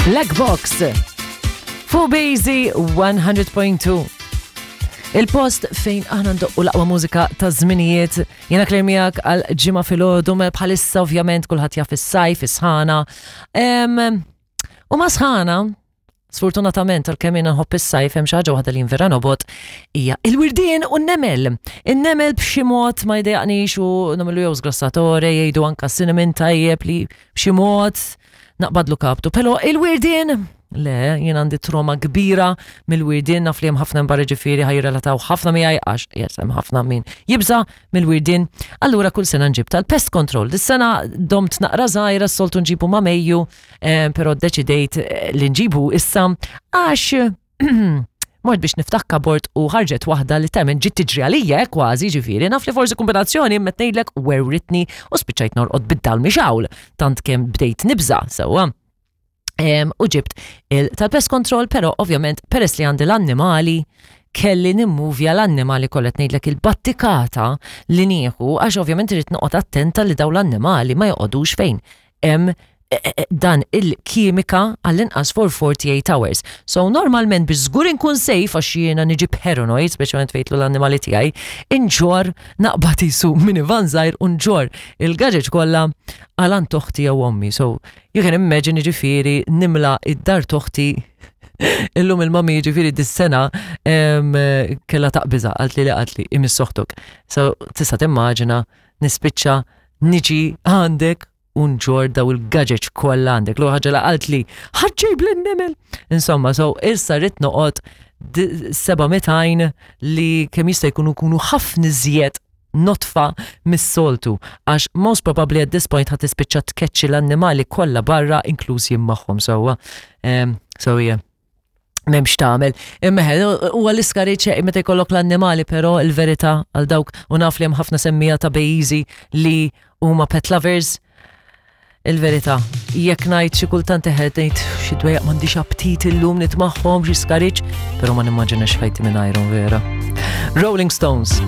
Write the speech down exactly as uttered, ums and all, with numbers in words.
Black Box. Fuq Bazy one hundred point two. Il-post fejn aħna ndoqqu l-aqwa mużika ta' żminijiet. Jiena Claire miegħek għal Ġimgħa filgħodu, mela bħalissa ovvjament kulħadd jaf is-sajf, is-sħana. Em, U ma' sħana, sfortunatament, għalkemm jiena nħobb is-sajf, hemm xi ħaġa waħda li vera nobgħod, hija il-wirdien u n-nemel. In-nemel b'xi mod ma jdejjaqnix u nagħmlu jew sgrassatore, jgħidu anka cinnamon tajjeb li b'xi mod naqbadlu kaptu. Però il-wirdien, le, jien għandi trauma kbira mill-wirdien, naf li hemm ħafna mbarra, ġifieri ħa jirrelataw ħafna miegħi għax yes, hemm ħafna min jibża mill-wirdien. Allura kull sena nġib tal-pest control. Dis-sena domt naqra żgħira, s-soltu nġibu ma' Mejju, eh, però ddeċidejt eh, li nġibu issa għax mort biex niftaħ cupboard u ħarġet waħda li temmen ġiet tiġri għalija eh, kważi, ġifieri, naf li forsi kombinazzjoni, imma ngħidlek werwritni u spiċċajt norqod bid-dal mixgħul tant kemm bdejt nibża sewwa. Em, u ġibt il tal-pest control, però ovvjament peress li għandi l-annimali kelli nimmuvja l-annimali kollha. Ngħidlek il-battikata li nieħu għax ovvjament irid noqgħod attenta li dawn l-annimali ma joqogħdux fejn hemm eh, eh, dan il-kimika għall-inqas for forty-eight hours. So normalment biex żgur inkun safe, għax jiena niġi paranoid, speċjalment fejn l-annimali tiegħi, inġorr, naqbad isu minivan żgħir u nġorr il-gadgets kollha għal għand oħti jew ommi. So you can imagine, ġifieri nimla id-dar t'oħti. Illum il-mami, ġifieri dis-sena em, kella taqbiża, għalt li li għalt li imiss oħtok. So tista' timmaġina nispiċċa niġi għandek u nġorr daw il-gadgets kollha għandek. L ħaġa la qalt li ħa ġġib l-nemel. Insomma, so issa rrid noqgħod seba' mitajn li kemm jista' jkunu kunu ħafna iżjed nodfa mis-soltu għax most probably at this point ħa tispiċċa tkeċċi l-annimali kollha barra, inkluż jien magħhom sewwa. Um, so yeah. M'hemmx tagħmel. Imma huwa l-iskariċ meta jkollok l-annimali, però il-verità għal dawk, u naf li hemm ħafna semmiegħa ta' Bejzi li huma pet lovers. Il-verità, jekk ngħid xi kultant eħed ngħid xi dwejjaq, m'għandix aptit illum nitmagħhom, xi skariċ, però ma nimmaġinax ħajti mingħajrhom vera. Rolling Stones.